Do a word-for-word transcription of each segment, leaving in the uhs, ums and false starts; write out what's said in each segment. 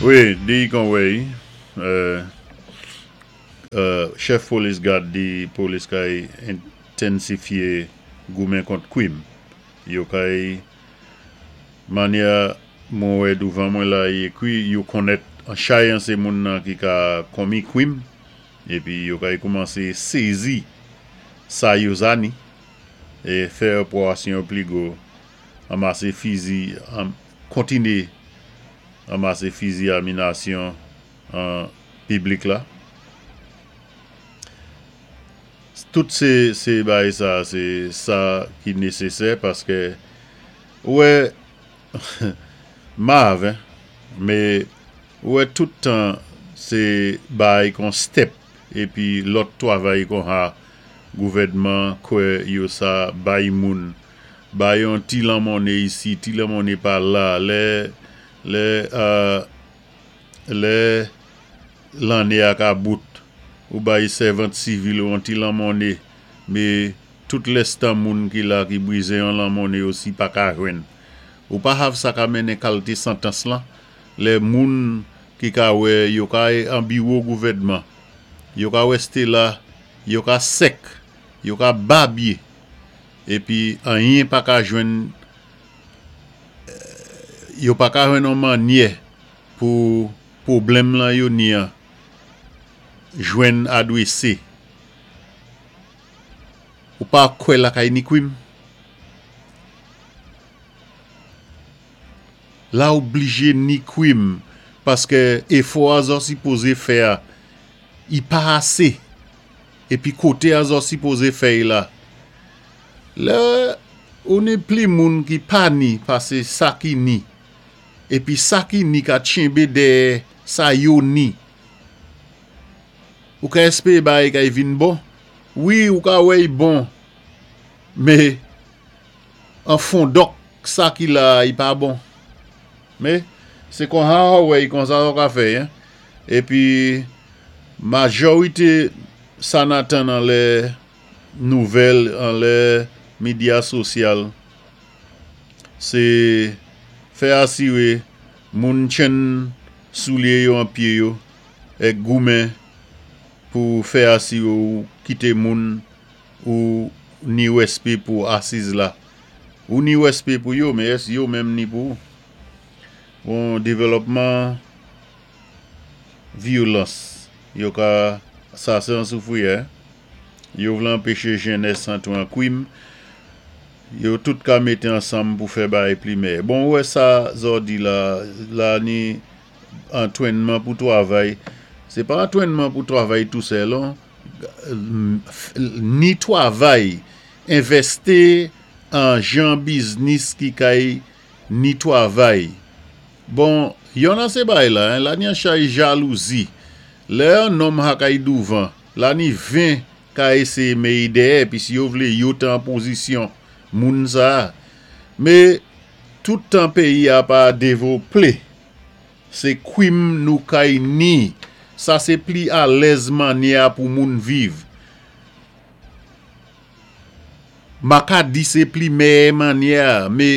Wi, di kon wèy, chèf polis gad di polis kay entensifyé goumen kont kwim. Yo kay mannyè mwen wè douvan mwen la i ékwi yo konnèt an chay an sé moun nan ki ka konmi kwim épi yo kay koumansé sézi sa yo za ni é fè opérasyon pli gwo, anmasé fizi, kontiné anmasé fizi a minasyon an piblik la. Tout sé sé bagay sa sé sa ki nésésè paské ou wè mav hein, mé ou wè tout tan sé bay kon step épi lòt twavay kon ha gouvèdman kwè yo sa bay moun, bay yon ti lanmonné isi, ti lanmonné pa la, lè lè lè lanné a ka bout, ou bay sèvant sivil yon ti lanmonné, mé tout lèstan moun ki la ki bwizwen yon lanmonné osi pa ka jwenn. Ou pa hav sa ka mennen kalté santans lan, lè moun ki ka wè yo ka an biwo gouvèdman, yo ka wèsté la, yo ka sèk, yo ka babyé, épi anyen pa ka jwenn, yo pa ka jwenn yon mannyè pou pwoblèm lan yo ni an jwenn adwésé. Ou pa kwè lakay ni kwim? La oblijé ni kwim paské éfò a zò sipozé fè a, i pa asé. Épi koté a zò sipozé fè'y la. Lè ou ni pli moun ki pa ni pasé sa ki ni, épi sa ki ni ka tchenbé dèyè sa yo ni. Ou ka èspéwé bagay kay vin bon? Wi, ou ka wè'y bon, mé an fondòk sa ki la i pa bon. Mé sé kon ha ou wè'y konsa ou ka fè hein. Épi majorité sa n atann anlè nouvèl, anlè medya sosyal, sé fè asiwé moun tchenn soulyé yo an pyé yo èk goumen pou fè asiwé ou kité moun ou ni wèspé pou asiz la. Ou ni wèspé pou yo, mé ès yo menm ni pou ou? Bon, dévlòpman vyolans, yo ka, sa sé an Soufrière, yo vlé anpéché jènès antwé an kwim, yo tout ka mété ansanm pou fè bagay pli mèyè. Bon, ou wè sa zò di la, la ni antwénman pou twavay, sé pa antwénman pou twavay tou sèl non, ni twavay, envèsté an jan biznis ki kay ni twavay. Bon, yon an sé bagay la, hein, la ni an chay jalouzi. Lè an nonm ha kay douvan, la ni ven ka éséyé mé'y dèyè, pi si yo vlé yo té an pozisyon moun sa. Mé tout tan péyi a pa dévloplé, sé kwim nou kay ni, sa sé pli alèz mannyè pou moun viv. Ma ka di sé pli mèyè mannyè, mé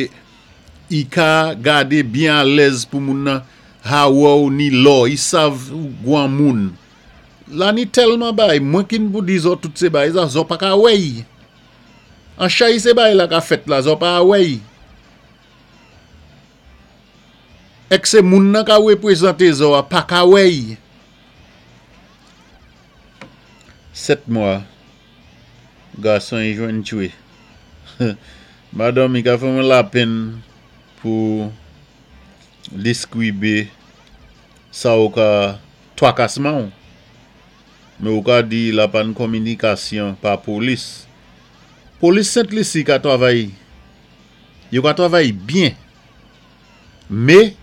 i ka gadé byen alèz pou moun nan ha wè ou ni lò, i sav ou gwan moun. La ni tèlman bay, mwen kin pou di zò tout sé bay, sa zò pa ka wè'y. An chay sé bay la ka fèt la, zò pa wè'y. Èk sé moun nan ka wépwézanté zò a pa ka wè'y. Sèt mwa, gason i jwenn tchwé. Madanm i ka fè mwen lapenn pou deskwibé sa ou ka twakasman ou. Mé ou ka di la pa-n kominikasyon pa polis. Polis Sent-Lisi ka twavay, yo ka twavay byen. Mé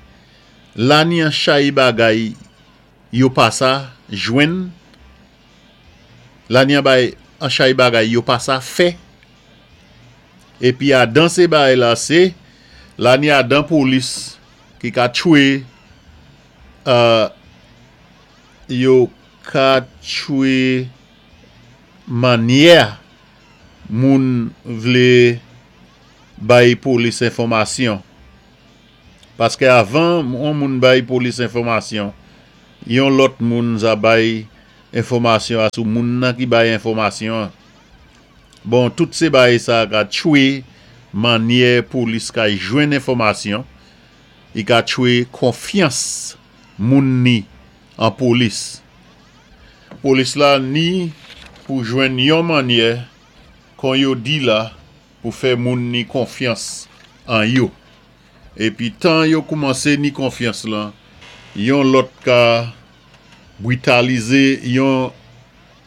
la ni an chay bagay yo pa sa jwenn, la ni an bay an chay bagay yo pa sa fè. Épi adan sé bagay la sé, la ni adan polis ki ka tchwé, euh, yo ka tchwé mannyè moun vlé bay polis enfòmasyon. Paské avan on moun bay polis enfòmasyon, yon lòt moun za bay enfòmasyon asou moun nan ki bay enfòmasyon. Bon, tout sé bay sa ka tchwé mannyè polis ka jwenn enfòmasyon, i ka tchwé konfyans moun ni an polis. Polis la ni pou jwenn yon mannyè kon yo di la pou fè moun ni konfyans an yo. Épi tan yo koumansé ni konfyans lan, yon lòt ka britalizé yon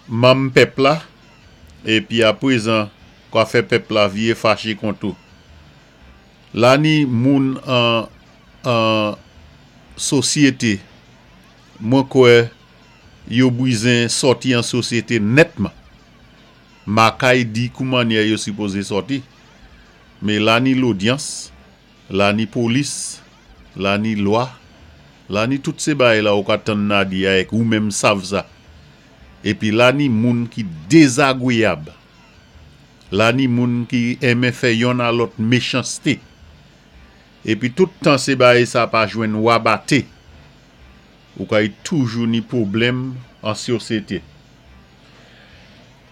manm pèp la, épi aprezan kwa fè pèp la vié faché kont ou. La ni moun an, an sosyété, mwen kwè yo bizwen sòti an sosyété nètman. Ma kay di kou mannyè yo sipozé sòti. Mé la ni lodyans, la ni polis, la ni lwa, la ni tout sé bay la ou ka tann na di avèk ou menm sav sa. Épi la ni moun ki dézagwéyab. La ni moun ki enmen fè yonn a lòt méchansté. Épi tout tan sé bay sa pa jwenn wabaté. Ou kay toujou ni pwoblèm an sosyété.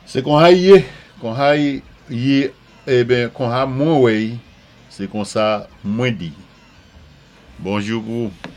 Sé kon hay yé, kon hay yé, eben kon ha mwen wè'y, sé kon sa mwen di. Bonjou pou ou.